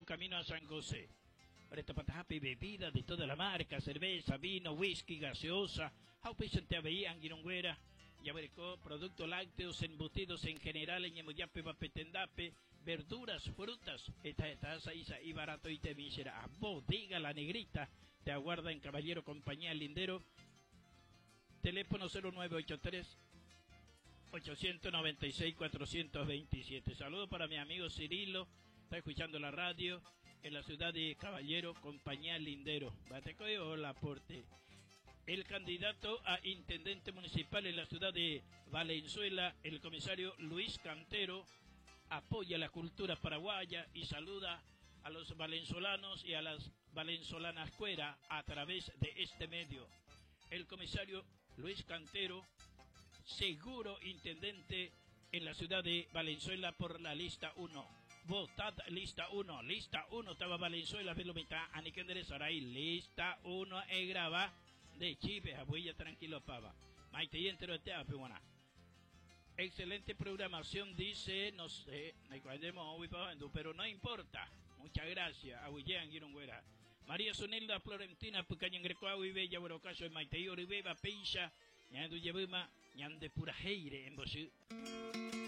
camino a San José. Retopatahápe bebida de toda la marca, cerveza, vino, whisky, gaseosa, ha upéichante avei angirũnguéra jaguereko productos lácteos, embutidos en general eñembojápeva pe tendápe, verduras, frutas, heta heta sa'i sa'i baratoitemi che ra'a. Bodega La Negrita te aguarda en Caballero Compañía Lindero, teléfono 0983 896 427. Saludo para mi amigo Cirilo, está escuchando la radio en la ciudad de Caballero, Compañía Lindero. Hola, aporte. El candidato a intendente municipal en la ciudad de Valenzuela, el comisario Luis Cantero, apoya la cultura paraguaya y saluda a los valenzolanos y a las valenzolanas cuera a través de este medio. El comisario Luis Cantero, seguro intendente en la ciudad de Valenzuela por la lista 1. Votad lista 1, lista 1, estaba Valenzuela, Velomita, Aniquendere Saray, lista 1, e graba de Chipe, abuella tranquilo pava. Maite y entero te buena. Excelente programación, dice, no sé, pero no importa. Muchas gracias, Abuyean Girongüera. María Sonilda Florentina, Pucañen Grecoago y Bella, Borocaso, Maite y Oribeba, Peisha, Ñandu Yebuma, Ñande Purajeire, en Bosú.